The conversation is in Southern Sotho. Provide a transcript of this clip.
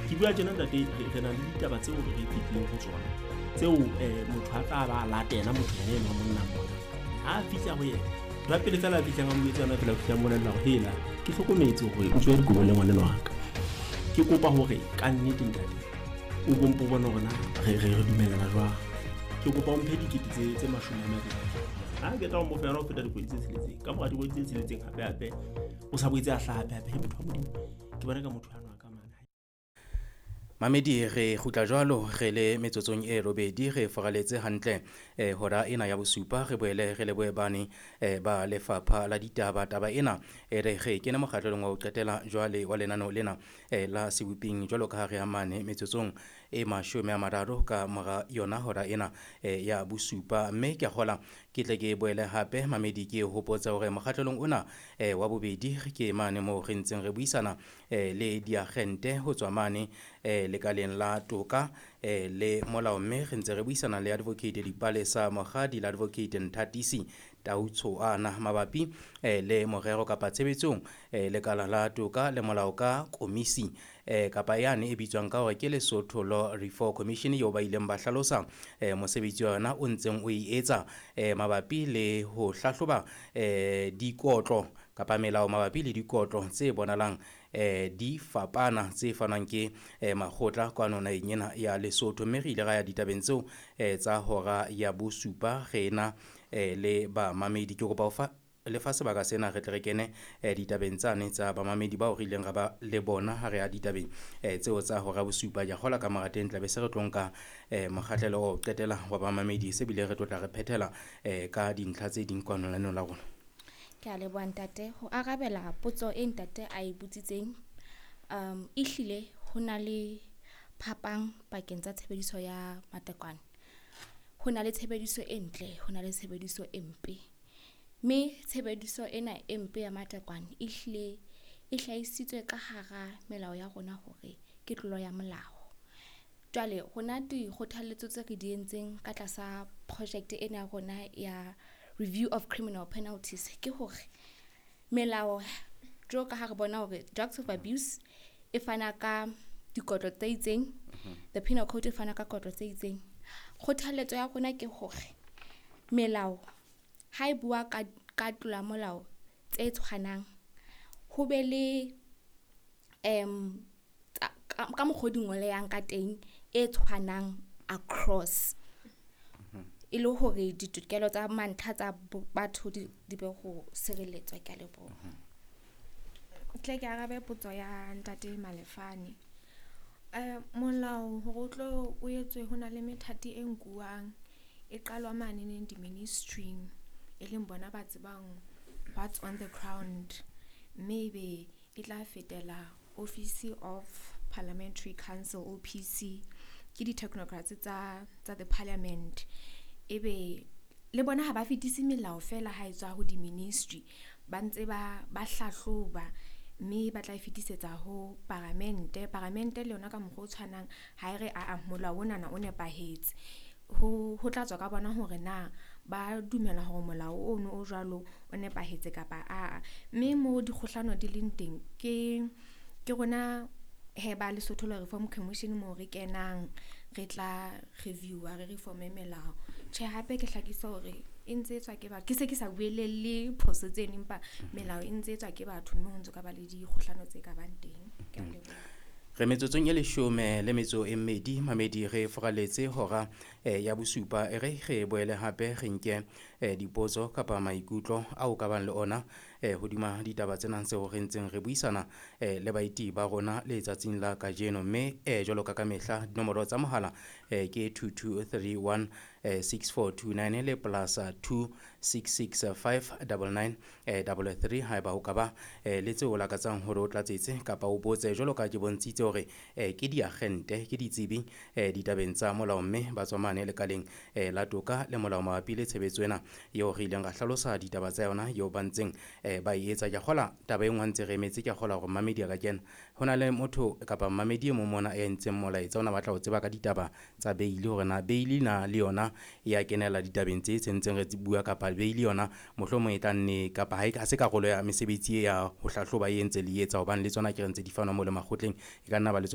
Ke bua tjena ntate, re na le ditaba tseo re fetileng ho tsona tseo motho a tla ba latela motho yena enwa monna mona. Ha a fihla ho yena, ntho ya pele fela a fihlang a mo etsa yona fela, o fihla mmolella hore hela, ke hlokometse hore o tswe dikobo le ngwaneno wa ka. Ke kopa hore ka nnete ntate o bompo bone hore na re dumellana jwang. Ke kopa o mphe 20 tse 20. Ha ke tla o mo fa yona ho feta dikgwedi tse 6. Ka mora dikgwedi tse 6 hape hape o sa boetse a hlaha hape hape. Motho wa Modimo, ke bona ka motho ano a ka mane. Mamedi, re kgutla jwalo re le metsotsong e 8 re foraletse hantle hora ena ya bosupa. Re boele re lebohe bane ba lefapha la ditaba. Taba ena e re re kene mokgahlelong wa ho qetela jwale wa lenaneo lena la Seboping, jwalo ka ha re amane metsotsong e 30 ka mora yona hora ena ya bosupa. Mme ke a kgola ke tle ke boele hape, mamedi, ke hopotsa hore mokgahlelong ona wa bobedi ke mane moo re ntseng re buisana le diagente ho tswa mane lekaleng la toka le molao, mme re ntse re buisana le Advocate Dipalesa Mokgadi le Advocate Nthatisi Tautshoana mabapi le morero kapa tshebetsong lekala la toka le molao ka komisi kapa yane e bitswang ka hore ke Lesotho Law Reform Commission, eo ba ileng ba hlalosa mosebetsi wa yona o ntseng o e etsa mabapi le ho hlahloba dikotlo kapa melao mabapi le dikotlo tse bonalang di fapana tse fanwang ke makgotla kwano naheng ena ya Lesotho. Mme re ile ra ya ditabeng tseo tsa hora ya bosupa re na le bamamedi. Ke kopa ho fa lefa sebaka sena re tle re kene ditabeng tsane tsa bamamedi bao re ileng ra ba le bona ha re ya ditabeng tseo tsa hora bosupa. Ke a kgolwa ka mora teng tla be se re tlo nka mokgahlelo wa ho qetela wa bamamedi, se bile re tlo tla re phethela ka dintlha tse ding kwano lenaneong la rona. Ke a leboha, ntate. Ho arabela potso e ntate a e botsitseng, ehlile ho na le phapang pakeng tsa tshebediso ya matekwane. Ho na le tshebediso e ntle, ho na le tshebediso e mpe. Mme tshebediso ena e mpe ya matekwane ehlile e hlahisitswe ka hara melao ya rona hore ke tlolo ya molao. Jwale rona dikgothaletso tse re di entseng ka tlasa project ena ya rona ya Review of Criminal Penalties ke hore melao, jwalo ka ha re bona hore Drugs of Abuse e fana ka dikotlo tse itseng, the Penal Code e fana ka kotlo tse itseng. Kgothaletso ya rona ke hore melao ha e bua ka tlola molao tse tshwanang, ho be le ka mokgwa o di ngolehang ka teng e tshwanang across, e le hore ditokelo tsa mantlha tsa batho di be ho sireletswa. Ke a leboha. Tle ke arabe potso ya ntate Malefane. Molao hore o tlo o etswe, ho na le methati e nkuwang e qalwa mane neng di-ministry-ing, e leng bona ba tsebang what's on the ground, mme ebe e tla fetela Office of Parliamentary Council, OPC, ke di-technocrats tsa the parliament. Ebe le bona ha ba fetise melao fela ha e tswa ho di-ministry, ba ntse ba hlahloba mme ba tla e fetisetsa ho paramente. Paramente le yona ka mokgwa o tshwanang, ha e re aa, molao onana o nepahetse, ho tla tswa ka bona hore na ba dumela hore molao ono o jwalo o nepahetse kapa aa. Mme mo dikgohlano di leng teng ke rona he ba Lesotho Law Reform Commission moo re kenang re tla review-a, re reforme melao. Tjhe, hape ke hlakisa hore e ntse e tswa ke batho, ke se ke sa buelelle phoso tseno, empa melao e ntse e tswa ke batho, mme ho ntso ka ba le dikgohlano tse ka bang teng. Ke a leboha. Re metsotsong e 12, mamedi, re foraletse hora ya bosupa. E re re boele hape re nke dipotso kapa maikutlo ao ka bang le ona hodima ditaba tsena tseo re ntseng re buisana le baeti ba rona letsatsing la kajeno. Mme jwalo ka kamehla, dinomoro tsa mohala ke 2231 6429 le +266 599 33, haeba ho ka ba le tseo o lakatsang hore o tlatsetse kapa o botse. Jwalo ka ke bontshitse hore ke diagente, ke ditsebi ditabeng tsa molao, mme ba tswa mane lekaleng la toka le molao mabapi le tshebetso ena eo re ileng ra hlalosa ditaba tsa yona eo ba ntseng ba e etsa. Ke a kgola taba e nngwe ntse re emetse, ke a kgola hore mmamedi a ka kena. Ho na le motho kapa mmamedi e mong mona e entseng molaetsa, o na batla ho tseba ka ditaba tsa bail, hore na bail na le yona ya kenela ditabeng tse ntseng re bua, kapa bail yona mohlomong e tla nne kapa ha se karolo ya mesebetsi e ya ho hlahloba e ntse le etsa, hobane le tsona ke re ntse di fanwa mo le makgotleng, e ka nna ba le tsona.